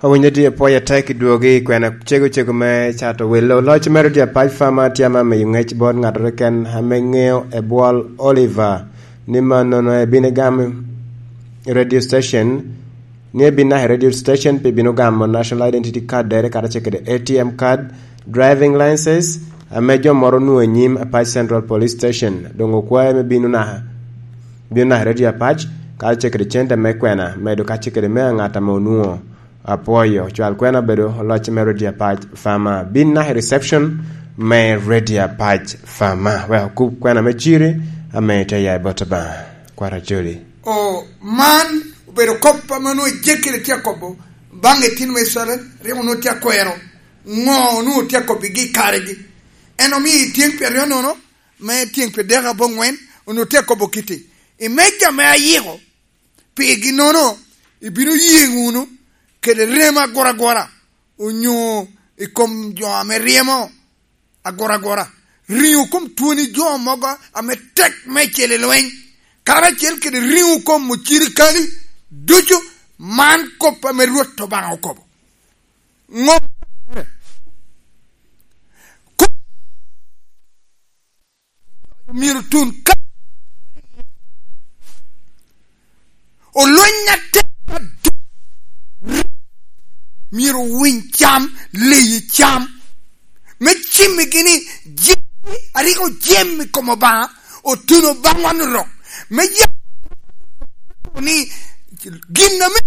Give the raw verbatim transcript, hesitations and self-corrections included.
Owinyo tye pwoyo atek i dwogi, kwena cego cego me cato welo. Loc me Radio Apac Fama tye ame miyo ngec bot ngat keken ame ŋeo Ebwol Oliver ni mannono ebino gamo radio station, ni ebin naka i radio station pi bino gamo National Identity Card dere kara ce kede A T M card, driving license, ame jo moro onwoŋo i nyim Apac Central Police Station. Doŋ okwae me bino naka, bino naka i Radio Apac, kara ce kede cente me kwena, medo ka ce kede me aŋat ame onwoŋo. Apwoyo, cwal kwena obedo loc me Radio Apac Fama. Bin naka i reception me Radio Apac Fama, wek okub kwena me ciri ame itye ya i bot Obaŋa. Kwara Joli. O, man obedo kop ame onwoŋo Ejekel tye akobo baŋ itino me Icrael, rik onwoŋo tye akwero ŋo onwoŋo tye akobigi i karegi. En omio i tyeŋ pyeraryo nono, me tyeŋ pyerdek aboŋwen, onwoŋo tye akobo kiti. I meja me ayiko, pigi nono, ibino yeŋ wunu kede rem aguragura, onyo i kom jo ame ryemo aguragura, riŋo kom twoni jo mogo ame tek meicel i lweny, karacel kede riŋo kom ocirikali ducu. Man kop ame Rwot Obaŋa okobo. Ŋo? Myero tun ka olweny atek adwoŋ, myero owiny cam, leyi cam, me cimmigi ni jami a rik ojemo i kom Obaŋa otuno baŋwa ni rok, me yam ni gin ame